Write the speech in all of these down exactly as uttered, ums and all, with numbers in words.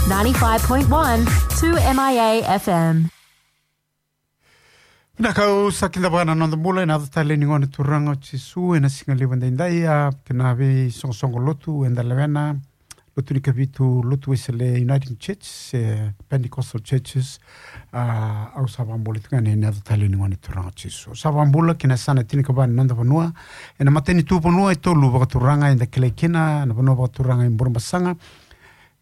ninety-five point one two M I A F M. Vinaka, au sa kidavaka na noda bula ena yaca talei ni Gone Turaga o Jisu ena siga levu edaidai, a, kei na veisoqosoqo lotu eda lewena, lotu ni Kavitu, lotu Wesele, Uniting Church, e, Pentecostal Churches, a, au sa vakabula tiko yani ena yaca talei ni Gone Turaga o Jisu. Au sa vakabula kina yasana tinikava ni noda vanua, ena matanitu vanua e tolu vakaturaga eda kilai kina, na vanua vakaturaga i Burebasaga,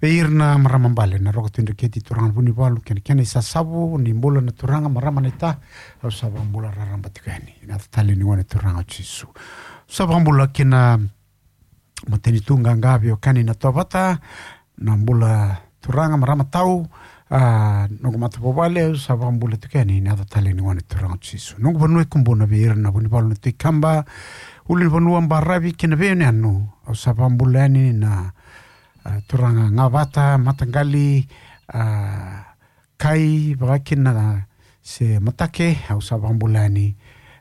vei ira na marama bale, na Roko Tui Dreketi, turaga na Vunivalu kei na kena isasavu, ni bula na turaga, marama naita, au sa vakabula raraba tiko yani ena yaca talei ni Gone Turaga o Jisu. Au sa vakabula kina matanitu qaqa, veiwekani na Tovata, na bula turaga, marama tau, a, noqu matavuvale, au sa vakabula tiko yani ena yaca talei ni Gone Turaga o Jisu. Noqu vanua e Kubuna, vei ira na Vunivalu na Tui Kaba, ulunivanua, baravi kei na veiyanuyanu, au sa vakabula yani na, a, turaga Gavata, Mataqali, a, Kai, vaka kina se Matake, au sa vakabula yani,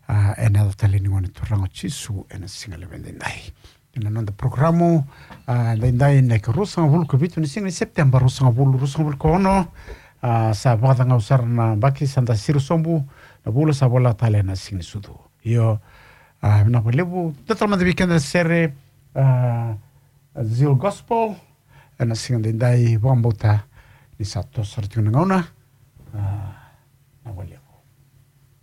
a, ena yaca talei ni Gone Turaga o Jisu ena siga levu edaidai. Ena noda porokaramu, a, edaidai na ikaruasagavulu ka vitu ni siga ni Sepiteba, ruasagavulu ruasagavulu ka ono, a, sa vakacagau sara na yabaki, sa da siro sobu, na vula sa vola tale ena Siganisucu. Io, a, vinaka vakalevu, da tala mada vei keda na sere, a, Zeal Gospel, ena siga edaidai, vakabauta ni sa toso sara tiko na gauna. A,